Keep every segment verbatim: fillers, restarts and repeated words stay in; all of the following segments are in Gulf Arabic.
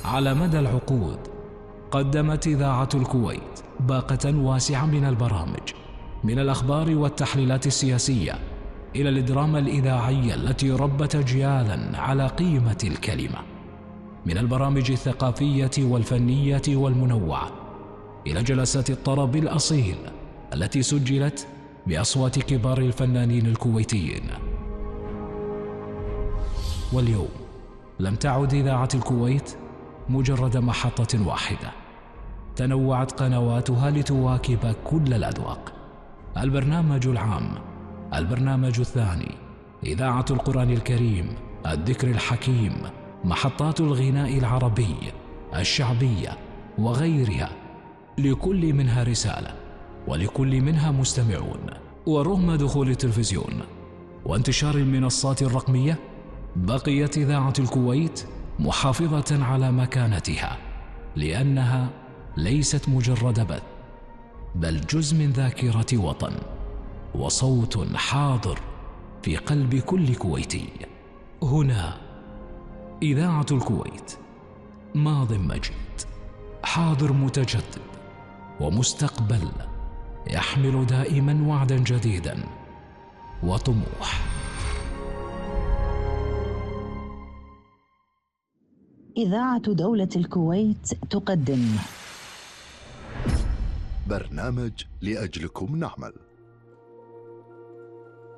على مدى العقود قدمت إذاعة الكويت باقة واسعة من البرامج، من الأخبار والتحليلات السياسية إلى الدراما الإذاعية التي ربت أجيالاً على قيمة الكلمة، من البرامج الثقافية والفنية والمنوعة إلى جلسات الطرب الأصيل التي سجلت بأصوات كبار الفنانين الكويتيين. واليوم لم تعد إذاعة الكويت مجرد محطة واحدة، تنوعت قنواتها لتواكب كل الأذواق. البرنامج العام، البرنامج الثاني، إذاعة القرآن الكريم، الذكر الحكيم، محطات الغناء العربي، الشعبية وغيرها، لكل منها رسالة ولكل منها مستمعون. ورغم دخول التلفزيون وانتشار المنصات الرقمية، بقيت إذاعة الكويت محافظة على مكانتها، لأنها ليست مجرد بث، بل جزء من ذاكرة وطن وصوت حاضر في قلب كل كويتي. هنا إذاعة الكويت، ماض مجيد، حاضر متجدد، ومستقبل يحمل دائما وعدا جديدا وطموح. إذاعة دولة الكويت تقدم برنامج لأجلكم نعمل.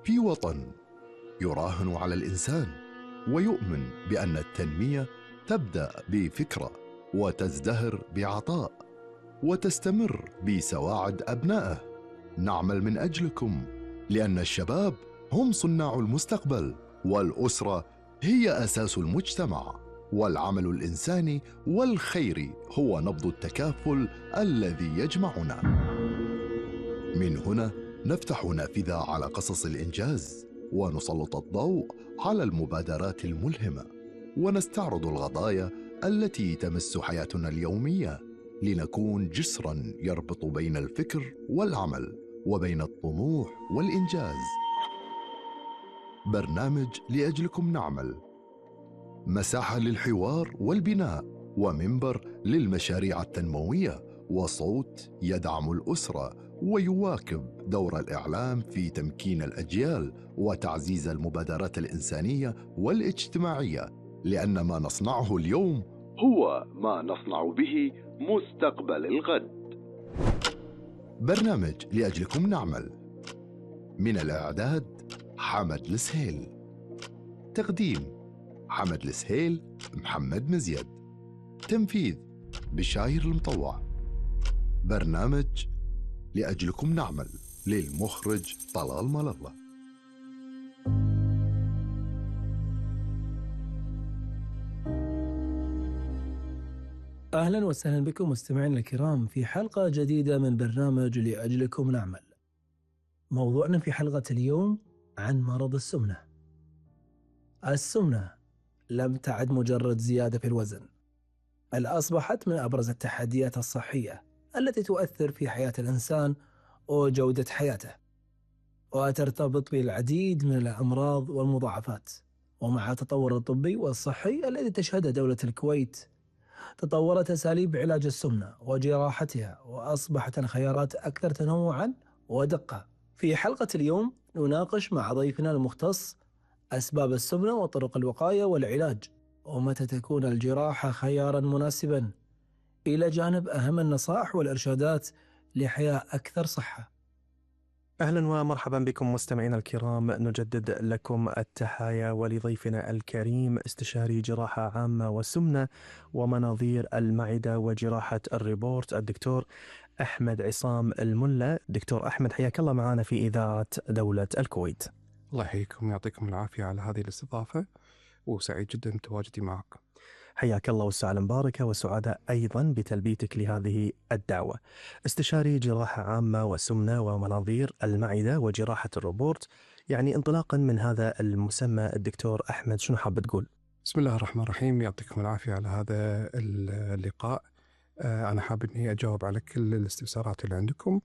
في وطن يراهن على الإنسان ويؤمن بأن التنمية تبدأ بفكرة وتزدهر بعطاء وتستمر بسواعد أبنائه، نعمل من أجلكم، لأن الشباب هم صناع المستقبل، والأسرة هي أساس المجتمع، والعمل الإنساني والخيري هو نبض التكافل الذي يجمعنا. من هنا نفتح نافذة على قصص الإنجاز، ونسلط الضوء على المبادرات الملهمة، ونستعرض القضايا التي تمس حياتنا اليومية، لنكون جسراً يربط بين الفكر والعمل وبين الطموح والإنجاز. برنامج لأجلكم نعمل، مساحة للحوار والبناء، ومنبر للمشاريع التنموية، وصوت يدعم الأسرة ويواكب دور الإعلام في تمكين الأجيال وتعزيز المبادرات الإنسانية والاجتماعية، لأن ما نصنعه اليوم هو ما نصنع به مستقبل الغد. برنامج لأجلكم نعمل، من الإعداد حمد السهيل، تقديم حمد السهيل، محمد مزيد، تنفيذ بشاير المطوع. برنامج لأجلكم نعمل للمخرج طلال ملالة. أهلا وسهلا بكم مستمعينا الكرام في حلقة جديدة من برنامج لأجلكم نعمل. موضوعنا في حلقة اليوم عن مرض السمنة. السمنة لم تعد مجرد زيادة في الوزن، بل أصبحت من أبرز التحديات الصحية التي تؤثر في حياة الإنسان وجودة حياته، وترتبط بالعديد من الأمراض والمضاعفات. ومع التطور الطبي والصحي الذي تشهده دولة الكويت، تطورت أساليب علاج السمنة وجراحتها، وأصبحت الخيارات أكثر تنوعا ودقة. في حلقة اليوم نناقش مع ضيفنا المختص أسباب السمنة وطرق الوقاية والعلاج، ومتى تكون الجراحة خيارا مناسبا، إلى جانب أهم النصائح والإرشادات لحياة أكثر صحة. أهلا ومرحبا بكم مستمعينا الكرام، نجدد لكم التحايا ولضيفنا الكريم استشاري جراحة عامة والسمنة ومناظير المعدة وجراحة الريبورت الدكتور أحمد عصام الملا. دكتور أحمد، حياك الله معنا في إذاعة دولة الكويت. الله يحييكم ويعطيكم العافية على هذه الاستضافة، وسعيد جدا بتواجدي معك. حياك الله والسعادة المباركة، وسعداء أيضا بتلبيتك لهذه الدعوة. استشاري جراحة عامة وسمنة ومناظير المعدة وجراحة الروبورت، يعني انطلاقا من هذا المسمى الدكتور أحمد، شنو حاب تقول؟ بسم الله الرحمن الرحيم، يعطيكم العافية على هذا اللقاء. أنا حاب أني أجاوب على كل الاستفسارات اللي عندكم.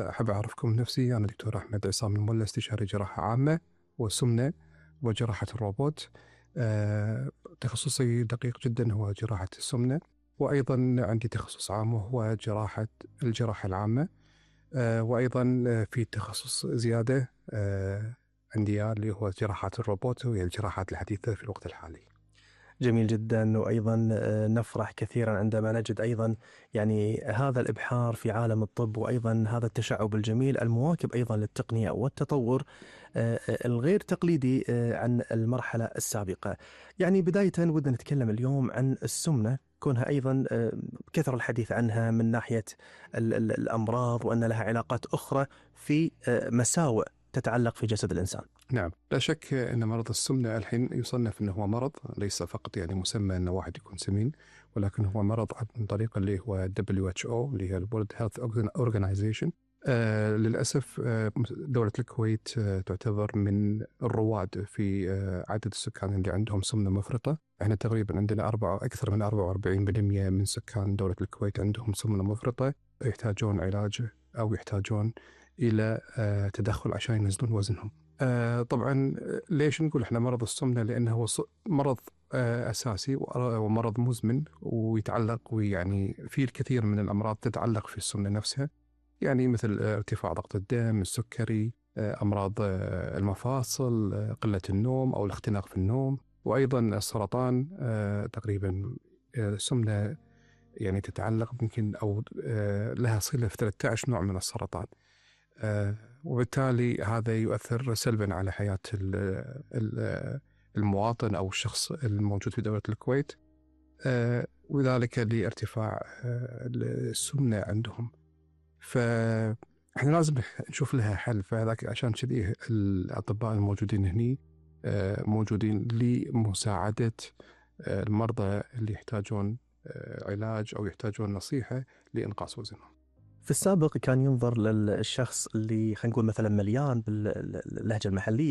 أحب أعرفكم نفسي، أنا دكتور أحمد عصام الملا، استشاري جراحة عامة وسمنة وجراحة الروبوت. تخصصي دقيق جدا هو جراحة السمنة، وأيضا عندي تخصص عام وهو جراحة الجراحة العامة، وأيضا في تخصص زيادة عندي اللي هو جراحات الروبوت وهي الجراحات الحديثة في الوقت الحالي. جميل جدا، وأيضا نفرح كثيرا عندما نجد أيضا يعني هذا الإبحار في عالم الطب، وأيضا هذا التشعب الجميل المواكب أيضا للتقنية والتطور الغير تقليدي عن المرحلة السابقة. يعني بداية ودنا نتكلم اليوم عن السمنة، كونها أيضا كثر الحديث عنها من ناحية الأمراض وأن لها علاقات أخرى في مساوئ تتعلق في جسد الإنسان. نعم، لا شك أن مرض السمنة الحين يصنف أنه هو مرض، ليس فقط يعني مسمى أن واحد يكون سمين، ولكن هو مرض عن طريق اللي هو دبليو إتش أو اللي هي World Health Organization. آه للأسف آه دولة الكويت آه تعتبر من الرواد في آه عدد السكان اللي عندهم سمنة مفرطة. احنا تقريبا عندنا أربعة أكثر من أربعة وأربعين بالمئة من سكان دولة الكويت عندهم سمنة مفرطة، يحتاجون علاج أو يحتاجون إلى آه تدخل عشان ينزلون وزنهم. آه طبعا ليش نقول احنا مرض السمنة؟ لأنه هو مرض آه أساسي ومرض مزمن ويتعلق، ويعني في الكثير من الأمراض تتعلق في السمنة نفسها، يعني مثل ارتفاع ضغط الدم، السكري، أمراض المفاصل، قلة النوم أو الاختناق في النوم، وأيضا السرطان. تقريبا السمنة يعني تتعلق يمكن أو لها صلة في ثلاثة عشر نوع من السرطان، وبالتالي هذا يؤثر سلبا على حياة المواطن أو الشخص الموجود في دولة الكويت، وذلك لارتفاع السمنة عندهم. فإحنا لازم نشوف لها حل، فذاك عشان كذي الأطباء الموجودين هني موجودين لمساعدة المرضى اللي يحتاجون علاج أو يحتاجون نصيحة لإنقاص وزنهم. في السابق كان ينظر للشخص اللي خلينا نقول مثلا مليان باللهجة المحلية